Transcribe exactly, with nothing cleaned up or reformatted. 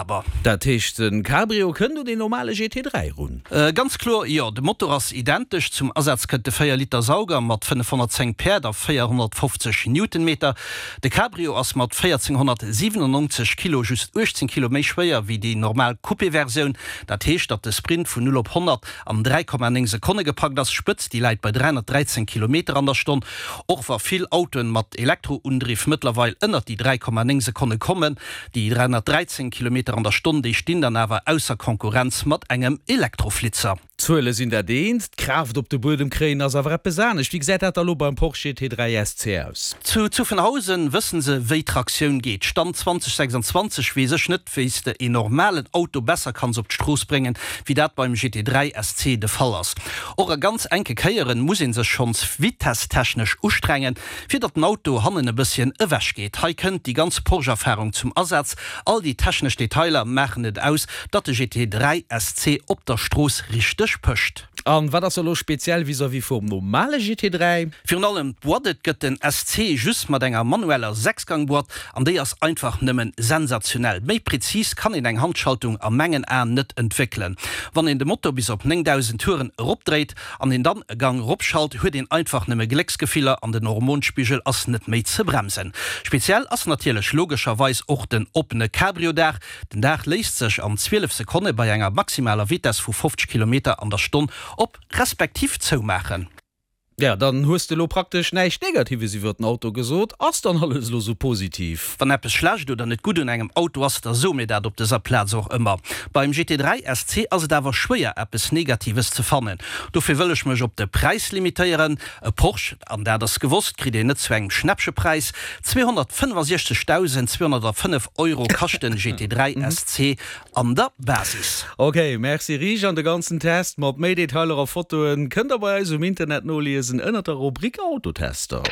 Liibhaber. Dat heescht, den Cabrio kënnt un den normale G T dräi run? Äh, ganz kloer jo, de Motor ass identesch. Zum Asaz kënnt de véier Liter Sauger mat fënnefhonnertzéng Päerd a véierhonnertfofzeg Newtonmeter. De Cabrio ass mat véierzehnhonnertsiwenennonzeg Kilo just uechtzéng Kilo méi schwéier wéi déi normal Coupé-Versioun. Dat heescht, datt de Sprint vun null op honnert an dräi Komma néng Sekonne gepackt ass. D'Spëtzt, déi läit bei dräihonnertdräizéng Kilometer an der Stonn. Och wa vill Autoen mat Elektroundriff mëttlerweil ënnert déi dräi Komma néng Sekonne kommen, déi dräihonnertdräizéng Kilometer an der Stonn, déi stinn dann awer ausser Konkurrenz mat engem Elektroflitzer. D'Zuele sinn dat eent, d'Kraaft op de Buedem kréien ass awer eppes anescht. Wéi gesäit dat da lo beim Porsche G T dräi S C aus? Zu Zuffenhausen wëssen se, wéi Traktioun geet. Stand zweitausendsechsundzwanzeg weess ech net, wéi s de een normalen Auto besser kanns op d'Strooss bréngen, wéi dat beim G T dräi S C de Fall ass. Och a ganz enke Kéieren muss ee sech schonns vitesstechnesch ustrengen, fir datt den Auto hannen e bësschen ewech geet. Hei kënnt déi ganz Porsche-Erfarung zum Asaz. All déi technesch Detailer maachen et aus, datt de G T dräi S C op der Strooss richteg pëscht. An wat ass elo speziell vis-à-vis vum normale G T dräi? Virun allem d'Boîte. Et gëtt den S C just mat enger manueller Sechsgang-Boîte an déi ass einfach nëmmen sensationell. Méi prezis kann een eng Handschaltung a mengen Aen net entwéckelen. Wann een de Motor bis op néngdausend Touren eropdréit an een dann e Gang eropschalt, huet een einfach nëmme Glécksgefiller an den Hormonspigel ass net méi ze bremsen. Speziell ass natierlech logescherweis och den oppene Cabrio-Daach. Den Daach léisst sech an zwielef Sekonne bei enger maximaler Vitess vu fofzeg Kilometer an der Stonn op respektiv zoumaachen. Ja, dann hues de lo praktesch näischt Negatives iwwer den Auto gesot. Ass dann alles lo sou positiv? Wann eppes schlecht oder net gutt un engem Auto ass, da soe mir dat op dëser Plaz och ëmmer. Beim G T dräi S C ass et awer schwéier eppes Negatives ze fannen. Dofir wëll ech mech op de Präis limitéieren. E Porsche, an dat ass gewosst, kritt een net zu engem Schnäppchepräis. zweehonnertfënnefasechzegdausend zweehonnertfënnef Euro kascht den G T dräi S C an der Basis. Ok, merci Rich. An de ganzen Test mat méi Detailer a Fotoen kënnt der bei eis um Internet noliesen ënnert der Rubrik Autotester.